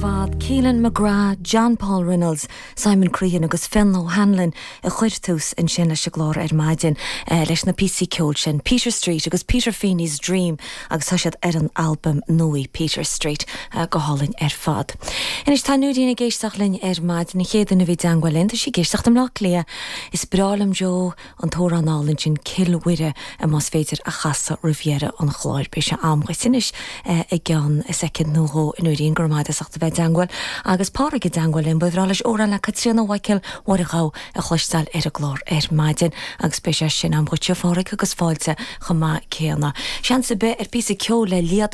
Fad, Keelan McGrath, John Paul Reynolds, Simon Crean agus Fionn O'Hanlon a chuir tús ansin leis an gclár ar maidin leis na píosaí ceoil sin, Peter Street agus Peter Feeney's Dream agus tá siad ar an albam nua Peter Street. Go hálainn ar fad. Anois tá Nóirín ag éisteacht linn ar maidin, an chéad duine a bhí i dteangmháil linn, tá sí ag éisteacht i mBleá Cliath. Is breá liom Joe. an t-amhrán álainn sin Cill Mhuire más féidir a chasadh roimh dheireadh an chláir. Beidh sé a'm dhuit anois i gceann soicind nó dhó a Nóirín, go raibh maith agat as ucht a bheith i dteangmháil. Agus Pádraig i dteangmháil linn, ba bhreá leis amhrán le Caitríona Mhaidhcil Mháire Ghabha a chloisteáil ar an gclár ar maidin agus beidh sé sin a'm dhuitse a Phádraig agus fáilte chomh maith céanna. Seans ar bith ar phíosa ceoil le Liadh.